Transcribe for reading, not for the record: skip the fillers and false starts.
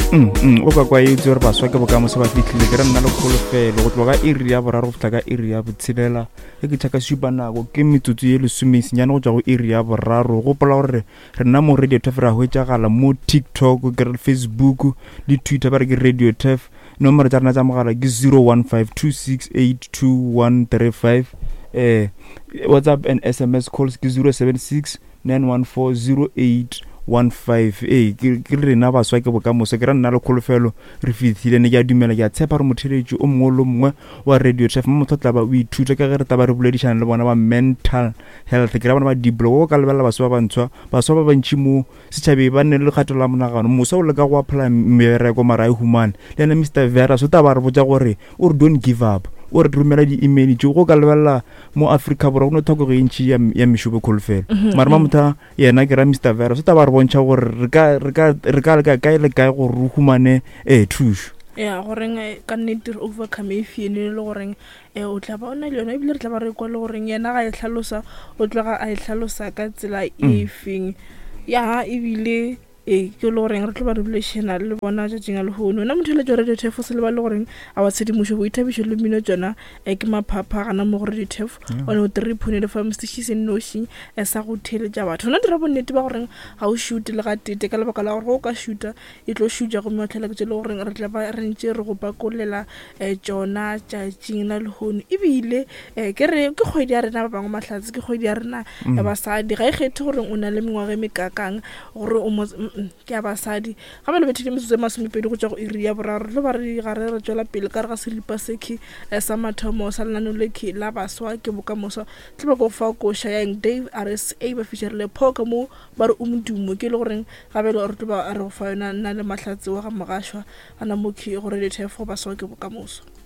Mm, mm, o ka kwa e itse gore baswa ke bokamoso ba fitlhile ke re nna le kholofelo go tloga ka iri ya boraro go fitlha ka iri ya botshelela ge ke tšhaka supa nako ke metsotso ye lesomesenyane go tšwa go iri ya boraro gopola gore re nna mo radio tef ra hwetšagala mo tiktok ke re facebook le twitter ba re ke radio tef nomoro tša rena tša mogala ke 0152682135 eh whatsapp and sms calls ke 076 914 0815 ee ke rena baswa ke bokamoso ke ra nna le kholofelo re fihlile ne ke a dumela ke a tshepa gore motheletši o mongwe le mongwe wa radio traf mo motho tla ba o ithuta ka ge re tla ba re boledišana le bona ba mental health ke ra bona ba diblo o ka lebelela baswa ba bantshwa baswa ba bantši mo setšhabeng ba nne le kgato la monagano mosa o leka go apply mebereko mara a e humane le ena mr veras o tla ba re botsa gore o re don't give up o re romela di-email tšeo go ka lebelela mo africa borwa go no tlhokego e ntšhi ya mešomo kholofelo mhm, mara mhm. mamotha yena ke ra mr veras o tla ba re bontšha gore re ka leka kae le kae gore re humane um thušo ya goreng eh, ka nnete re overcome e fiene le goreng um o tla ba o na le yona ebile re tla ba re kwa le goreng yena ga e tlhalosa o tloga a e tlhalosa ka tsela e mm. feng ya ebile Ee, ke le goreng re tlo ba re bolešana le bona tšatšing a lehono. Wena motheeletši wa Radio Turf o se lebale goreng a wa tshedimošo, boithabišo le mmino tšona eh, ke maphapha gana mo go Radio Turf one o three point eight FM sešši se nnoši eh, sa go theeletša batho. Wena dira bonnete ba goreng ga o šute le gatete ka lebaka la gore ge o ka šuta e tlo šutša gomme wa tlhela ke tše le goreng re tla ba re ntše re go pakolela eh, tšona tšatšing la lehono. Ebile eh, ke re ke kgwedi ya rena ba bangwe mahlatse ke kgwedi ya rena ya basadi ga e kgethe goreng o na le mengwaga e mekakang gore o mo ke ya basadi ga ba lebethile metsotso e masomepedi go tšwa go iri ya boraro tlo ba re gare re tšwela pele ka re ga seripa sekhi eh, sa mathomo sa lenano lekhi la baswa ke bokamoso tlo ba ko fa koša ya eng dave rsa ba fišerile pho ka mo ba re o modumo ke e le goreng gabele re tlo ba re go fa yona nna le mahlatse wa ga mogašwa gana mokhi gore lethefo baswa ke bokamoso.